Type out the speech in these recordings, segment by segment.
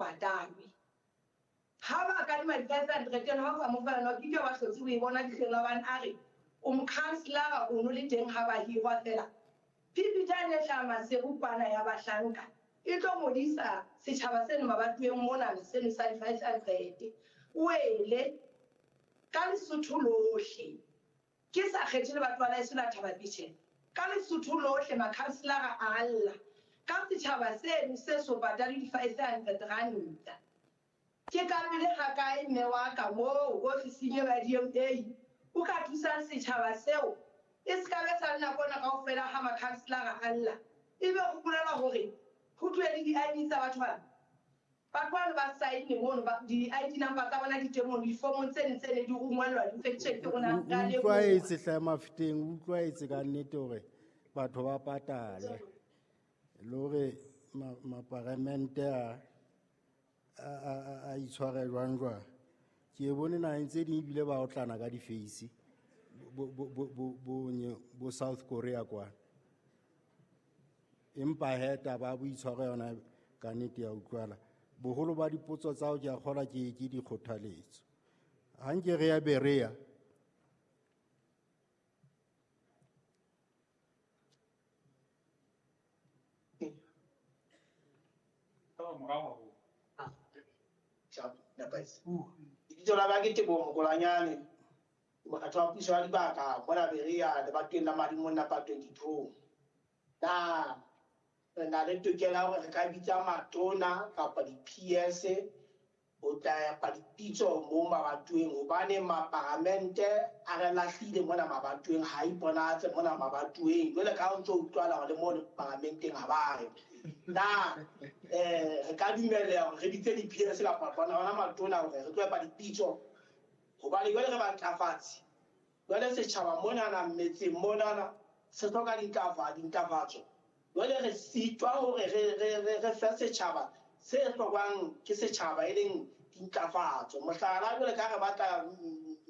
patalwe. Ha ba kadima di-500 eno ha o sa mo fa yona, ke ke ba hlotse o e bona dihleng la hobane a re o mokhanselara o no le teng ha ba hirwa fela. Phiphitlane e hlaha Maseru kwana ya bahlanka e tlo ngodisa setjhaba seno mabatoweng monana seno sa di-500. O ele ka Lesotho lohle, ke sa kgethe lebatowa la heso la Thaba-Botjhela, ka Lesotho lohle makhanselara a lla ka setjhaba seno se so patale di-500 ranta. Ke ka pele ga kae mme wa ka moo ofising eo ya DMA o ka thusang setjhaba seo e se ka be sa le nako ena kaofela ha makhanselara a lla, ebe ho bolela hore ho tlohe le di-ID tsa batho bana. Batho bano ba saenne mono, di-ID number tsa bona di teng mono, difomong tse ne tse ne di rongwellwa di-pension ke rona. O utlwaetse hle Mafeteng, o utlwaetse ka nnete hore batho ba patale le hore maparamente a itshware jwang jwang. Ke e bone naheng tse ding ebile ba otlana ka di-face bo South Korea kwana. Empa he taba ya boitshwaro yona ka nnete ya utlwala. Boholo ba dipotso tsa hao ke a kgolwa ke dikgothaletso. Ha nke re ya Berea. Lebitso la ka ke Teboho Mokolanyane, mokgatlo wa puso ya dibaka mona Berea lebatoweng la Madimo number 22. Na re na le tokelo ya hore re ka bitsa matona kapa di-PS ho tla epa dipitso mo mabatoweng, hobane maparamente a re lahlile mona mabatoweng, ha iponatse mona mabatoweng. Jwale ka ha o ntso utlwala hore le mo paramenteng ha ba re. Na re ka dumella hore re bitse di-PS kapa bona matona hore re tlo epa dipitso, hobane jwale re bantlafatsi. Jwale setjhaba monana metseng monana se hloka dintlafatso. Jwale re sitwa hore re fe setjhaba se hlokwang ke setjhaba e leng dintlafatso. Mohlala, jwale ka re batla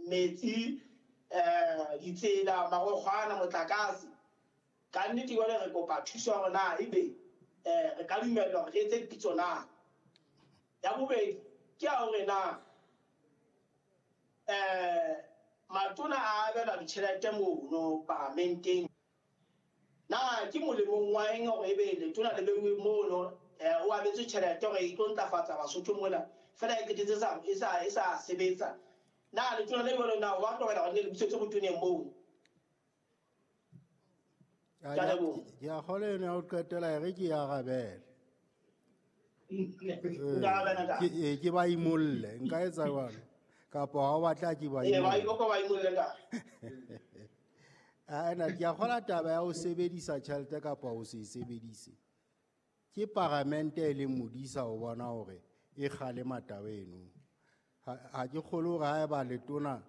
metsi, ditsela, marokgwana, motlakase. Ka nnete jwale re kopa thuso ya hore na ebe re ka dumellwa hore re etse dipitso na. Ya bobedi ke ya hore na matona a abelwa ditjhelete mono paramenteng. Na ke molemong wa eng hore ebe letona le beuwe mono, o abetswe tjhelete hore e tlo ntlafatsa Basotho mona, fela e qetetse e sa sebetsa. Na letona le jwalo na wa tlohela hore le busetse botoneng moo? Ke a leboha. Ke a kgolwa eno ya ho qetela e re ke e arabele. Nka arabela ntate. Ke ba imolle, nka etsa jwalo. Kapa ha o batla ke ba Ee, ba imolle. imolle, ba imolle ntate. Ena ke a kgolwa taba ya ho sebedisa tjhelete kapa ho se e sebedise. Ke paramente e leng modisa ho bona hore e kgalema taba eno. Ha ke kgolwe hore haeba letona,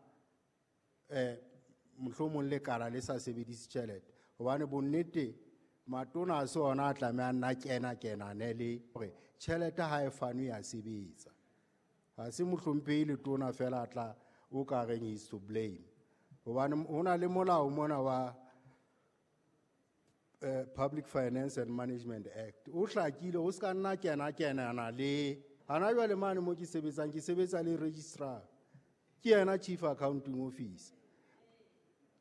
mohlomong lekala le sa sebedise tjhelete, hobane bonnete matona a se ona a tlamehang nna kena kenane le hore tjhelete ha e fanwe ya sebetsa. Ha se mohlomphehi letona fela a tla o ka reng is to blame. Hobane ho na le molao mona wa Public Finance and Management Act. O hlakile, o ska nna kena kenana le hana jwale mane mo ke sebetsang, ke sebetsa le registrar. Ke yena chief accounting officer.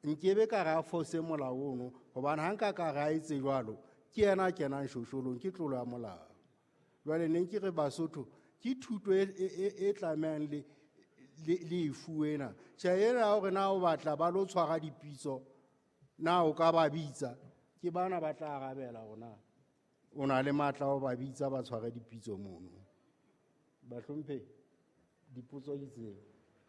Nkebe ka ra fose molao ono, hobane ha nka ka ra etse jwalo, ke yena a kenang shosholong, ke tlolo ya molao. Jwale ne ke re Basotho, ke thuto e tlamehang le e fuwe ena. Tjhe, ena ya hore na o batla ba lo tshwara dipitso, na o ka ba bitsa, ke bana ba tla arabela hore na o na le matla a ho ba bitsa ba tshware dipitso mono. Bahlomphehi, dipotso ke tseo.